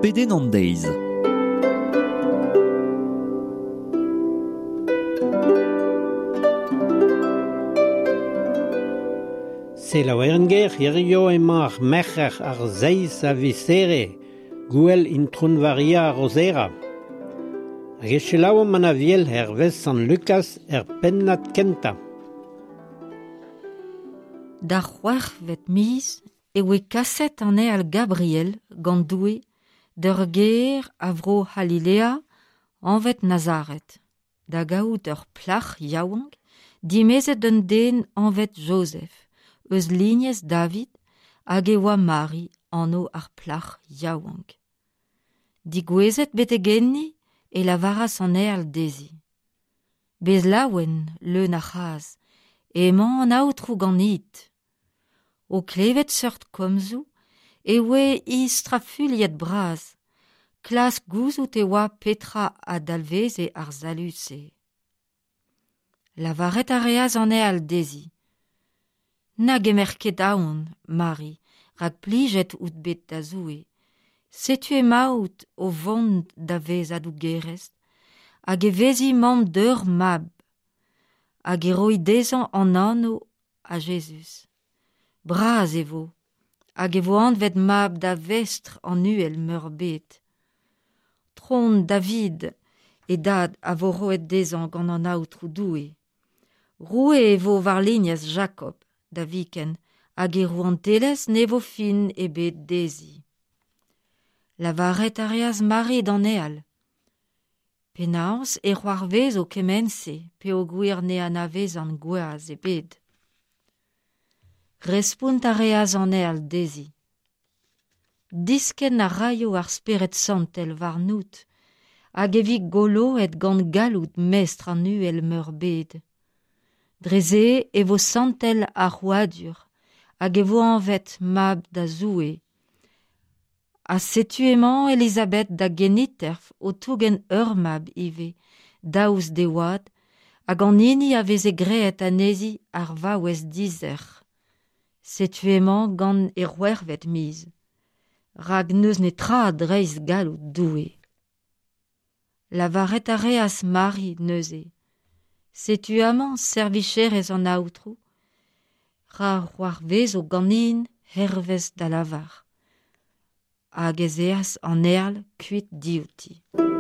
Pedenn an deiz. Selaouer ger, hirio emañ ar merc'her ar seizh a viz Here, gouel Intron Varia ar Rozera. Hag e selaouomp an Aviel hervez Sant Lukaz er pennad kentañ. D'ar c'hwec'hvet miz e oe kaset an ael Gabriel gant Doue d'ur gêr a vro C'halilea anvet Nazaret, da gaout ur plac'h yaouank dimezet d'un den anvet Jozef, eus lignez David, hag e oa Mari anv ar plac'h yaouank. Digouezet betek enni e lavaras an ael dezhi. Bez laouen, leun a c'hras, emañ an Aotrou ganit. O klevet seurt komzoù e oe hi strafuilhet bras, klask gouzout e oa petra a dalveze ar salud-se. Lavaret a reas an ael dezhi. Na gemer ket aon, Mari, rak plijet out bet da Zoue. Setu emaout o vont da vezañ dougerez, hag e vezi mamm d'ur mab, hag e roi dezhañ an anv a Jezuz. Bras e vo, hag e vo anvet mab da Vestr an Uhel-Meurbet. Tron David, e dad, a vo roet dezhañ gant an Aotrou Doue. Roue e vo war lignez Jakob da viken, hag e rouantelezh ne vo fin ebet dezhi. Lavaret a reas Mari d'an ael. Penaos e c'hoarvezo kement-se peogwir ne anavezan gwaz ebet. Respont a reas an ael dezhi. Diskenn a raio ar Spered Santel warnout, hag e vi goloet gant galloud Mestr an Uhel-Meurbet. Dre se e vo santel ar c'hrouadur, hag e vo anvet Mab da Zoue. Ha setu emañ Elizabeth da geniterv o tougen ur mab ivez, daoust d'e oad, hag an hini a veze graet anezhi ar vaouez dizec'h. Setu emañ gant e c'hwec'hvet miz. Rak n'eus netra dreist galloud Doue. Lavaret a reas Mari neuze. Setu amañ servicherez an Aotrou, ra c'hoarvezo ganin hervez da lavar. Hag ez eas an ael kuit diouti.